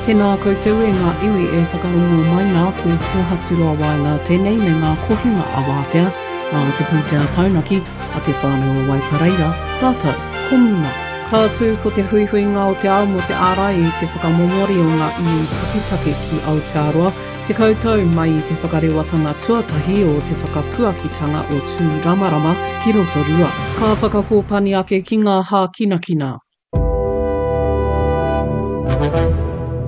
Tēnā koutou e ngā iwi e whakarongo mai nā, ko Kōhaturoa Waenga tēnei me ngā kohinga a Wātea, nā te pūtea taunaki a Te Whānau o Waipareira, rātou ko Muna. Ka tū ko te huihuinga o te ao mō te ārai i te whakamomori o ngā iwi taketake ki Aotearoa, 10 tau mai i te whakarewatanga tuatahi o te whakapuakitanga o Tūramarama ki Rotorua. Ka whakakōpani ake ki ngā hākinakina.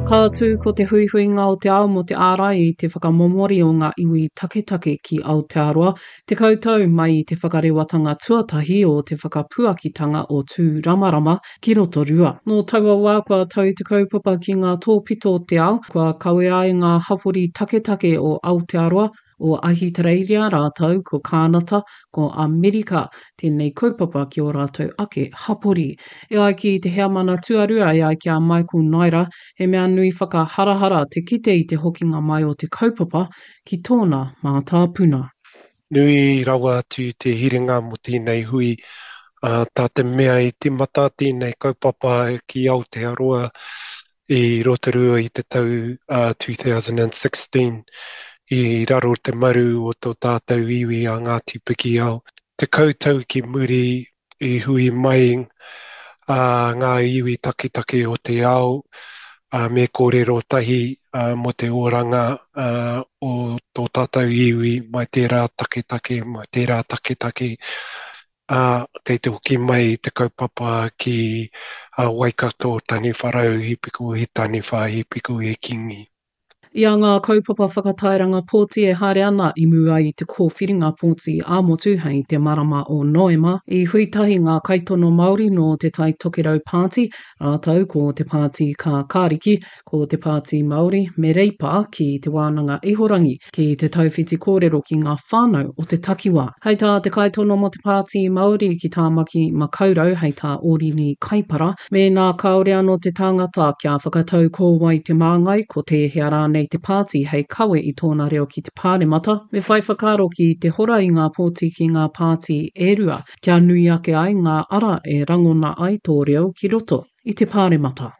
Ka tū ko te huihuinga o te ao mō te ārai i te whakamomori o ngā iwi taketake ki Aotearoa, 10 tau mai i te whakarewatanga tuatahi o te whakapuakitanga o Tūramarama ki Rotorua. Nō taua wā kua tau te kaupapa ki ngā tōpito o te ao, kua kawea ai ngā hapori taketake o Aotearoa, o Ahitereiria rātou ko Kānata, ko Amerika tēnei kaupapa ki ō rātou ake hapori. E ai ki te heamana tuarua e ai ki a Michael Naira, he mea nui whakaharahara te kite i te hokinga mai o te kaupapa ki tōna mātāpuna. Nui rawa atu te hiringa mō tēnei hui, ā, tā te mea i tīmata tēnei kaupapa ki Aotearoa i Rotorua i te tau 2016 i raro te maru o tō tātou iwi a Ngāti Pikiao. 10 tau ki muri i hui mai ngā iwi taketake o te ao me kōrero tahi mō te oranga o tō tātou iwi mai tērā taketake, mai tērā taketake. ā, kei te hoki mai te kaupapa ki Waikato, Taniwharau, He Piko He Taniwha, He Piko He Kingi. I a ngā kaupapa whakatairanga pōti e haere ana i mua i te kōwhiringa pōti ā-motu hei te marama o Noema, i hui tahi ngā kaitono Māori nō Te Tai Tokerau Pāti rātou ko Te Pāti Kākāriki, ko Te Pāti Māori me Reipa ki Te Wānanga Ihorangi ki te tauwhiti kōrero ki ngā whānau o te takiwā. Hei tā te kaitono mō Te Pāti Māori ki Tāmaki Makaurau, hei tā Ōrini Kaipara, mēnā kāore anō te tangata kia whakatau ko wai te māngai, ko tēhea rānei te pāti hei kawe i tōna reo ki te Pāremata, me whai whakaaro ki te hora i ngā pōti ki ngā pāti e rua, kia nui ake ai ngā ara e rangona ai tō reo ki roto i te Pāremata.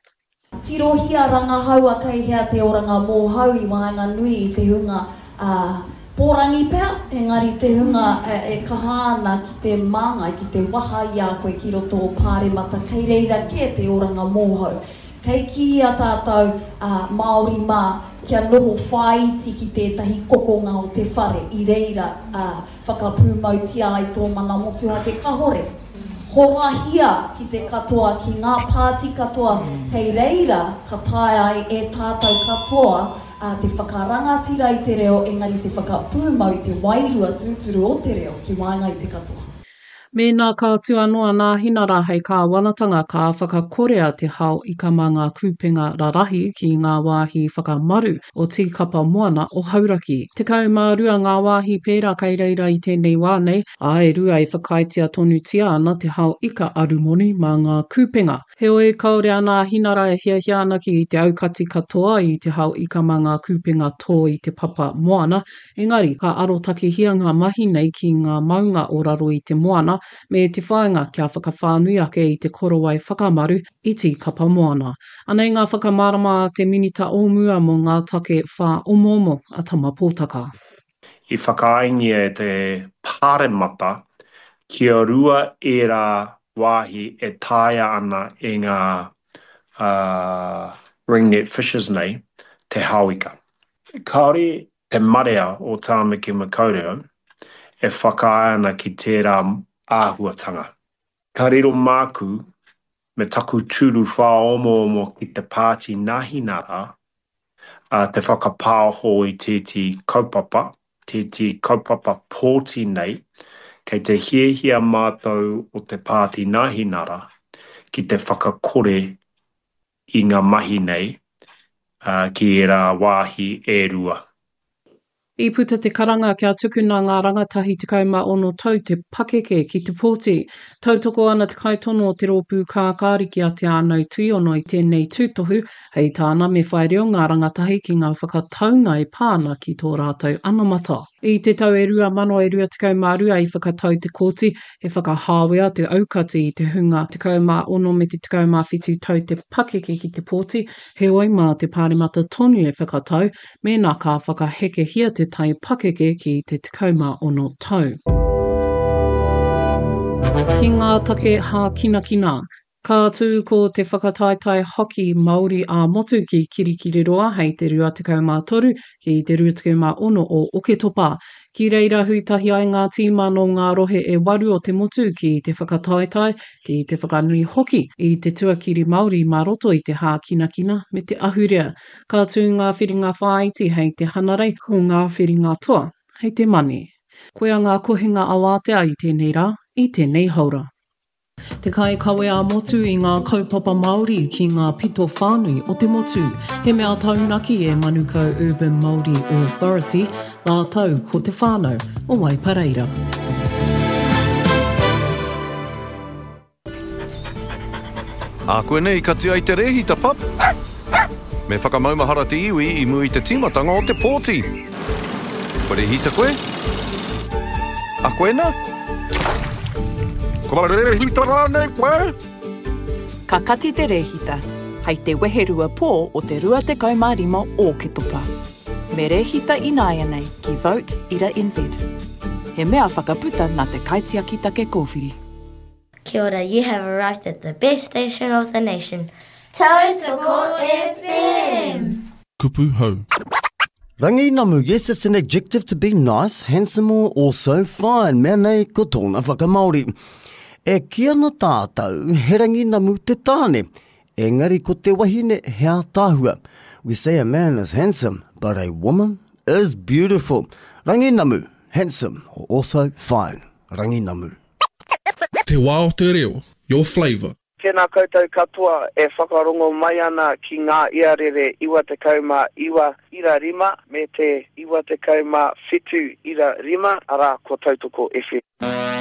Tirohia rangahaua kei hea te oranga mōhau i waenganui i te hunga pōrangi pea, engari te hunga e kaha ana ki te māngai, ki te waha i a koe ki roto o Pāremata, kei reira kē te oranga mōhau. Kei kīia tātou Māori mā kia noho whāiti ki tētahi kokonga o te whare i reira Whakapūmautia ai tō mana motuhake kahore. Horahia ki te katoa, ki ngā pāti katoa, hei reira ka taea ai e tātou katoa te whakarangatira i te reo engari te whakapūmau i te wairua tūturu o te reo ki waenga i te katoa. Mēnā ka tū anō a Nāhinara hei kāwanatanga ka whakakorea te hao ika mā ngā kūpenga rarahi ki ngā wāhi whakamaru o Tīkapa Moana o Hauraki. 12 ngā wāhi pērā kei reira i tēnei wā nei, ā, e rua e whakaaetia tonutia ana te hao ika arumoni mā ngā kūpenga. Heoi, kāore a Nāhinara e hiahia ana ki te aukati katoa i te hao ika mā ngā kūpenga tō i te papa moana, Engari, ka arotakehia ngā mahi nei ki ngā maunga o raro i te moana, me te whāinga kia whakawhānui ake i te korowai whakamaru i Tīkapa Moana. Anei ngā whakamārama a te Minita o mua mō ngā take whāomoomo a Tama Pōtaka. I whakaaengia e te Pāremata kia rua ērā wāhi e taea ana e ngā ringnet fishers nei te hao ika. Kāore te marea o Tāmaki Makaurau e whakaae ana ki tērā āhuatanga. Ka riro māku me taku tūru whāomoomo ki te Pāti Nāhinara te whakapāoho i tētehi kaupapa, tētehi kaupapa pōti nei, kei te hiahia mātou o te Pāti Nāhinara ki te whakakore i ngā mahi nei ki ērā wāhi e rua. I puta te karanga kia tukuna ngā rangatahi 16 tau te pakeke ki te pōti. Tautoko ana te kaitono o te Rōpū Kākāriki a Te Ānau Tuiono i tēnei tūtohu, hei tāna me whai reo ngā rangatahi ki ngā whakataunga e pā ana ki tō rātou anamata. I te tau e 2022 i whakatau te kōti he whakahāwea te aukati i te hunga 16 me te 17 tau te pakeke ki te pōti, heoi mā te Pāremata tonu e whakatau mēnā ka whakahekehia te tai pakeke ki te 16 tau. Ki ngā take hākinakina, Ka tū ko te whakataetae hockey Māori ā-motu ki Kirikiriroa hei te 23 ki te 26 o Oketopa. Ki reira hui tahi ai ngā tīma nō ngā rohe e waru o te motu ki te whakataetae, ki te whakanui hoki i te tuakiri Māori mā roto i te hākinakina me te ahurea. Ka tū ngā whiringa whāiti hei te Hanarei, ko ngā whiringa toa hei te Mane. Koia ngā kohinga awātea i tēnei rā, i tēnei haora. Te kaikawe ā-motu i ngā kaupapa Māori ki ngā pito whānui o te motu. He mea taunaki e Manukau Urban Māori Authority rātou ko te whānau o Waipareira. Ākuanei kati ai te rēhita, pup! Me whakamaumahara te iwi i mua i te tīmatanga o te pōti. Kua rēhita koe? A koe na? Kua rēhita rānei koe? Ka kati te rēhita hei te weherua pō o te 25 Ōketopa. Me rēhita ināianei ki Vote ira NZ. He mea whakaputa nā te Kaitiaki Take Kōwhiri. Kia ora, you have arrived at the best station of the nation, Tautoko FM! Kupu hou. Ranginamu, yes it's an adjective to be nice, handsome or also fine, mea nei ko tōna whakamāori. E kī ana tātou he ranginamu te tāne, engari ko te wahine he ātaahua. We say a man is handsome, but a woman is beautiful. Ranginamu, handsome or also fine. Ranginamu. Te wā o te reo, your flavour. Tēnā koutou katoa e whakarongo mai ana ki ngā iarere 99 ira rima me te 97 ira rima, arā, ko Tautoko FM.